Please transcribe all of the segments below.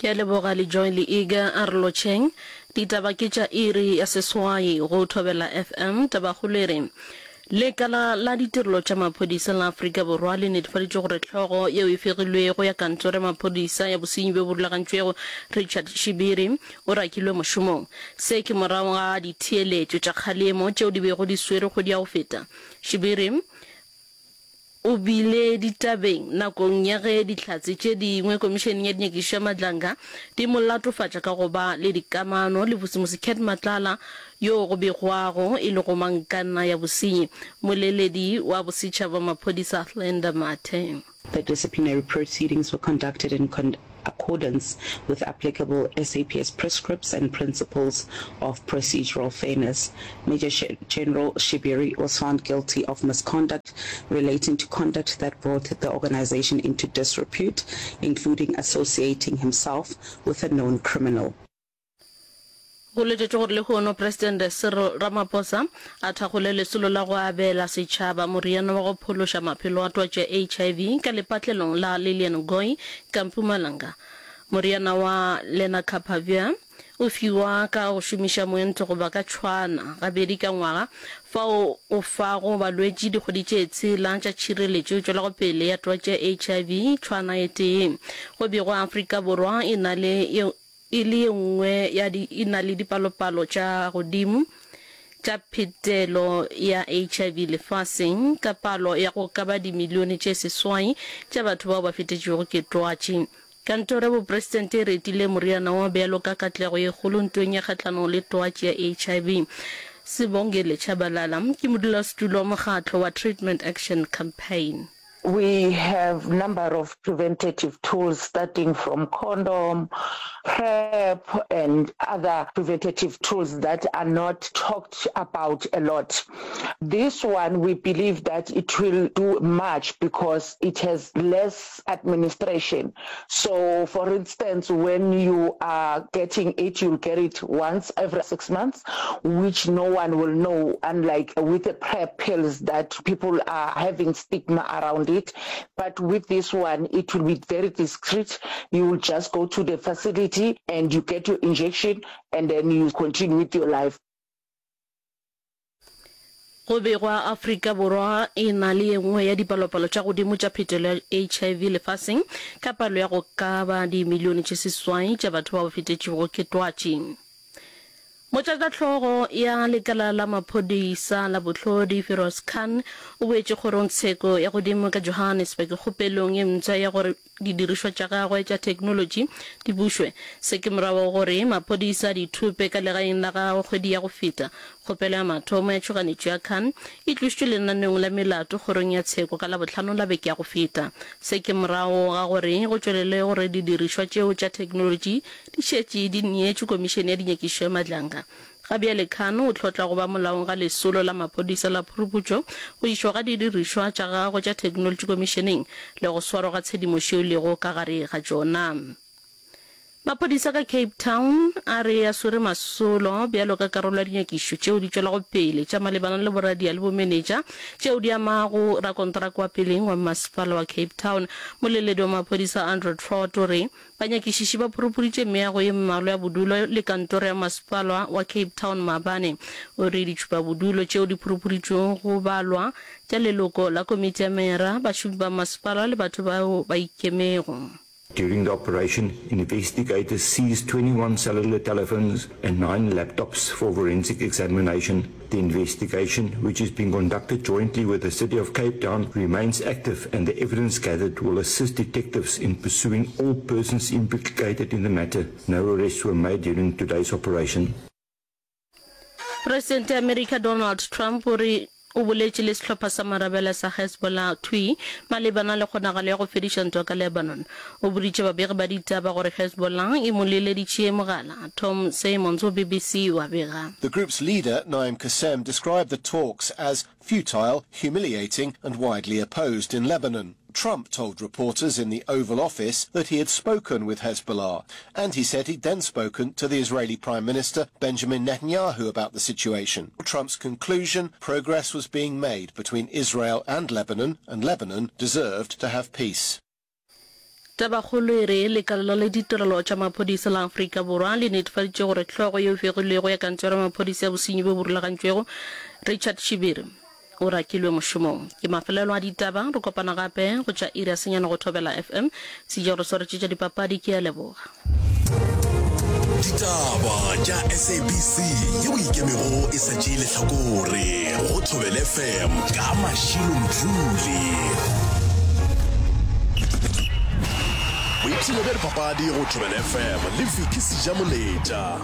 Ke a leboga le Joy le Iga a re lotšheng. Ditaba ke tša iri ya seswai go Thobela FM. Tabakgolo e re, Lekala la ditirelo tša maphodisa la Afrika Borwa le netefaditše gore hlogo yeo e fegilwego ya kantoro ya maphodisa ya bosenyi bjo bo rulagantšwego Richard Shibiri o rakilwe mošomong. Se ke morago ga ditheeletšo tša kgalemo tšeo di bego di swerwe kgwedi ya go feta. Shibiri O bile ditabeng nakong ya ge Dihlatse tše dingwe Komišeneng ya Dinyakišišo ya Madlanga di mo latofatša ka go ba le dikamano le Vusimusi Cat Matlala yoo go begwago e le gomangkanna ya bosenyi. Mmoleledi wa bosetšhaba wa maphodisa Athlenda Mathe. The disciplinary proceedings were conducted in accordance with applicable SAPS prescripts and principles of procedural fairness. Major General Shibiri was found guilty of misconduct relating to conduct that brought the organization into disrepute, including associating himself with a known criminal. Go letetšwe gore lehono Presidente Cyril Ramaphosa a thakgole lesolo la go abela setšhaba moriana wa go phološa maphelo a twatši ya HIV ka lepatlelong la Lilian Ngoyi ka Mpumalanga. Moriana wa Lenacapavir o fiwa ka go šomiša moento goba ka tšhwana gabedi ka ngwaga, fao o fago balwetši dikgwedi tše tshela tša tšhireletšo e tšwelago pele ya twatši ya HIV tšhwana e tee. Go begwa Afrika Borwa e na le e le ye nngwe ya di e na le dipalopalo tša godimo tša phetelo ya HIV lefaseng, ka palo ya go ka ba dimilione tše seswai tša batho bao ba fetetšwego ke twatši. Kantoro ya Bopresidente e retile moriana wo bjalo ka katlego ye kgolo ntweng ya kgahlanong le twatši ya HIV. Sibongile Tshabalala ke modulasetulo wa mokgatlo wa Treatment Action Campaign. We have number of preventative tools starting from condom, PrEP and other preventative tools that are not talked about a lot. This one we believe that it will do much because it has less administration. So for instance when you are getting it you'll get it once every 6 months which no one will know unlike with the PrEP pills that people are having stigma around it but with this one it will be very discreet you will just go to the facility and you get your injection and then you continue with your life. Go begwa Afrika Borwa e na le ye nngwe ya dipalopalo tša godimo tša phetelo ya HIV lefaseng, ka palo ya go ka ba dimilione tše seswai tša batho bao ba fetetšwego ke twatši. Motlatšahlogo ya lekala la maphodisa la bohlodi Firoz Khan o boetše kgorongtsheko ya godimo ka Johannesburg kgopelong ye mpsha ya gore didirišwa tša gagwe tša theknolotši di bušwe. Se ke morago ga gore maphodisa a di thope ka legaeng la gagwe kgwedi ya go feta. Kgopelo ya mathomo ya tšhoganetšo ya Khan e tlošitšwe lenaneong la melato kgorong ya tsheko ka Labohlano la beke ya go feta. Se ke morago ga gore go tšwelele gore didirišwa tšeo tša theknolotši di šetše di neetšwe Komišene ya Dinyakišišo ya Madlanga. Ga bjale Khan o hlotla go ba molaong ga lesolo la maphodisa la phuruputšo, go išwa ga didirišwa tša gagwe tša theknolotši komišeneng le go swarwa ga tshedimošo yeo e lego ka gare ga tšona. Maphodisa ka Cape Town a re a swere masolo bjalo ka karolo ya dinyakišišo tšeo di tšwelago pele tša malebana le boradia le bomenetša tšeo di amago rakonteraka wa peleng wa mmasepala wa Cape Town. Moleledi wa maphodisa Andrew Trott o re Banyakišiši ba phurupuditše meago ye mmalwa ya bodulo le kantoro ya masepala wa Cape Town maabane. O re ditšhupabodulo tšeo di phurupuditšwego go balwa tša leloko la komiti ya meyara, bašomi ba masepala le batho bao ba ikemego. During the operation, investigators seized 21 cellular telephones and 9 laptops for forensic examination. The investigation, which is being conducted jointly with the City of Cape Town, remains active and the evidence gathered will assist detectives in pursuing all persons implicated in the matter. No arrests were made during today's operation. Presidente ya Amerika Donald Trump o re o boletše le sehlopha sa marabele sa Hezbollah thwii malebana le kgonagalo ya go fediša ntwa ka Lebanon. O boditše babegi ba ditaba gore Hezbollah e mo leleditše mogala. Tom Symons wo BBC o a bega. The group's leader, Naim Qassem, described the talks as futile, humiliating and widely opposed in Lebanon. Trump told reporters in the Oval Office that he had spoken with Hezbollah, and he said he'd then spoken to the Israeli Prime Minister Benjamin Netanyahu about the situation. Trump's conclusion, progress was being made between Israel and Lebanon, and Lebanon deserved to have peace. Tabakgolo e re, Lekala la Ditirelo tša Maphodisa la Afrika Borwa le netefaditše gore hlogo yeo e fegilwego ya Kantoro ya Maphodisa ya Bosenyi bjo bo Rulagantšwego, Richard Shibiri, o rakilwe mošomong. Ke mafelelo a ditaba, re kopana gape go tša iri ya senyane go Thobela FM. Sejo re swaretše tša dipapadi, ke a leboga. Ditaba tša SABC yeo e ikemego e sa tšee lehlakore go Thobela FM ka Mashilo Mdluli. Boipshino bja dipapadi go Thobela FM le Vicky Sejamoletša.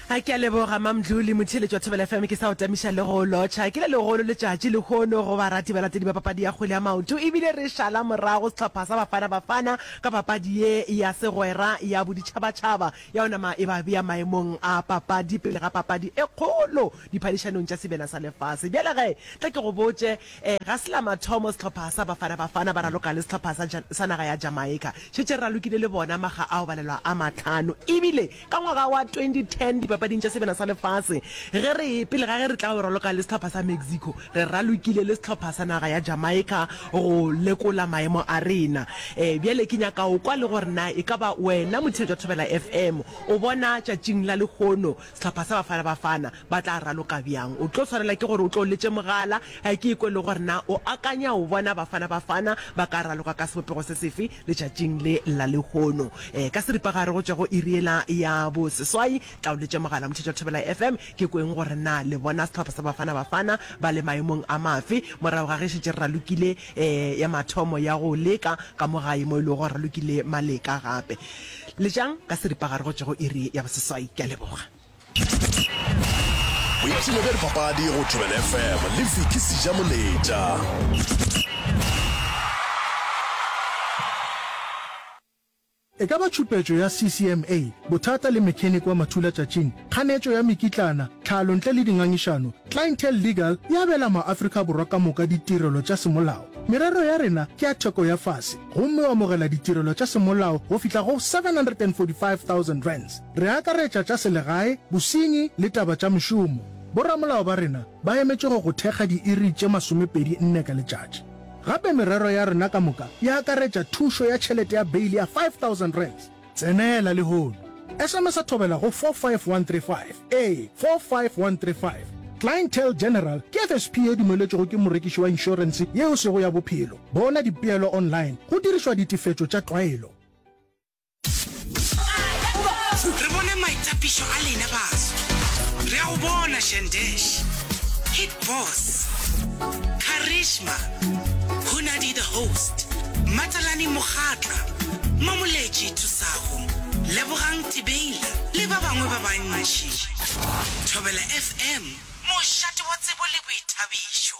A ke a leboga Mamdluli, motheeletši wa Thobela FM, ke sa go tamiša le go lotšha. Ke le legolo letšatši lehono go barati balatedi ba papadi ya kgwele ya maoto ebile re šala morago sehlopha sa Bafana Bafana ka papadi ye ya segwera ya boditšhabatšhaba ya go nama e ba bea maemong a papadi pele ga papadi e kgolo diphadišanong tša Sebjana sa Lefase. Bjale ge, tla ke go botše, ga se la mathomo sehlopha sa Bafana Bafana ba raloka le sehlopha sa, sa naga ya Jamaica. Šetše re ralokile le bona makga a go balelwa a mahlano ebile Ka ngwaga wa 2010 dipapading tša Sebjana sa Lefase, ge re, pele ga ge re tla go raloka le sehlopha sa Mexico, re ralokile le sehlopha sa naga ya Jamaica go lekola maemo a rena. E, bjale ke nyaka go kwa le gore na e ka ba wena motheetši wa Thobela FM o bona tšatšing la lehono sehlopha sa Bafana Bafana ba tla raloka bjang. O tlo swanela ke gore o tlo letše mogala ke kwe le gore na o akanya o bona Bafana Bafana ba ka raloka ka sebopego se sefe Letšatšing le la lehono, ka seripagare go tšwa go iri yela ya boseswai, tla o letše mogala motheetši wa Thobela FM, ke kweng gore na le bona sehlopha sa Bafana Bafana ba le maemong a mafe morago ga ge šetše re ralokile ya mathomo ya go leka ka mo gae mo e lego gore ralokile maleka gape. Letšang ka seripagare go tšwa go iri ya boseswai. Ke a leboga. Boipshino bja dipapadi go Thobela FM le Vicky Sejamoletša. E ka ba tšhupetšo ya CCMA, bothata le mechanic wa mathulatšatšing, kganetšo ya mekitlana, tlhalo ntle le dingangišano, Clientele Legal e abela maAfrika Borwa ka moka ditirelo tša semolao. Merero ya rena ke ya theko ya fase gomme o amogela ditirelo tša semolao go fihla go R745 000. Re akaretša tša selegae, bosenyi le taba tša mešomo. Boramolao ba rena ba emetše go go thekga diiri tše masomepedi nne ka letšatši. Gape merero ya rena ka moka e akaretša thušo ya tšhelete ya beili ya R5000. Tsenela lehono! SMS-a Thobela go 45135. Ee, 45135. Clientele General ke FSP ye dumeletšwego ke morekiši wa inšorense yeo e sego ya bophelo. Bona dipeelo online go dirišwa ditefetšo tša tlwaelo. Re bone maitapišo a lena baso. Re a go bona Shandesh, Hit Boss, Charisma, Hunadi the Host, Matalani Mokgatla, Mamoletši Thusago, Lebogang Tibeila le ba bangwe ba bantši. Thobela FM, mošate wa tsebo le boithabišo.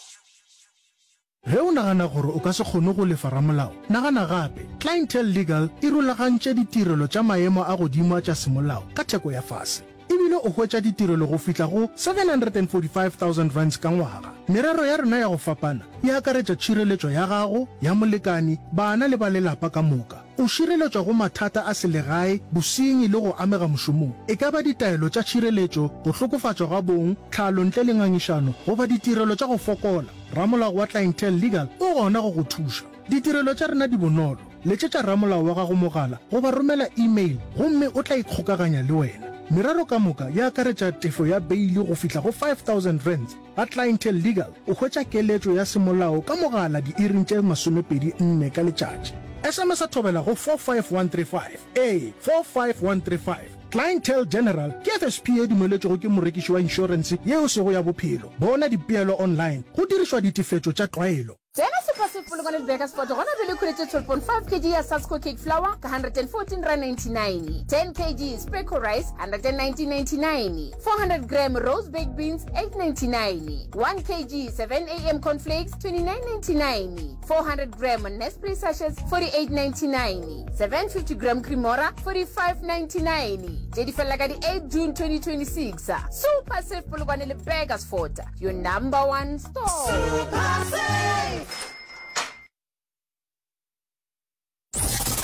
Ge o nagana gore o ka se kgone go lefa ramolao, nagana gape. Clientele Legal e rulagantše ditirelo tša maemo a godimo a tša semolao ka theko ya fase. E bile o hwetša ditirelo go fihla go R745 000 ka ngwaga. Merero ya rena ya go fapana e akaretša tšhireletšo ya gago, ya molekani, bana le ba lelapa ka moka. O šireletšwa go mathata a selegae, bosenyi le go amega mošomong. E ka ba ditaelo tša tšhireletšo, go hlokofatšwa ga bong, tlhalo ntle le ngangišano goba ditirelo tša go fokola. Ramolao wa Clientele Legal o gona go go thuša. Ditirelo tša rena di bonolo. Letšetša ramolao wa gago mogala goba romela email gomme o tla ikgokaganya le wena. Merero ka moka e akaretša tefo ya beili go fihla go R5000. Ga Clientele Legal o hwetša keletšo ya semolao ka mogala diiring tše 24 ka letšatši. SMS-a Thobela go 45135. Ee, 45135. Clientele General ke FSP ye dumeletšwego ke morekiši wa inšorense ye e sego ya bophelo. Bona dipeelo online go dirišwa ditefetšo tša tlwaelo. Tsena Super Polokwane le Burgersfort gona bjale ikhweletše 12.5 kg ya Sasko Cake Flour ka R114.99, 10 kg Speco Rice R119.99, 400 gram Rose Baked Beans R8.99, 1 kg 7am Cornflakes R29.99, 400 gram Nespre sachets 48.99, 750 gram Cremora 45.99. Tše di felela ka di 8 June 2026. Super Save Polokwane le Burgersfort, your number one store. Super Save!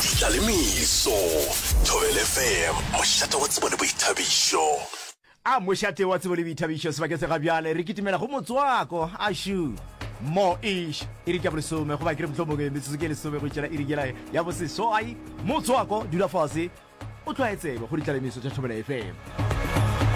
Ditlalemeso, Thobela FM, mošate wa tsebo le boithabišo. A mošate wa tsebo le boithabišo sebakeng se ga bjale re kitimela go motswako ašu. Mo ish iri ke ya bolesome goba ke re mohlomongwe metsotso ke lesome go itšela iri yela ya boseswai. Motswako dula fase o tlwaetsebe go ditlalemiso tša Thobela FM.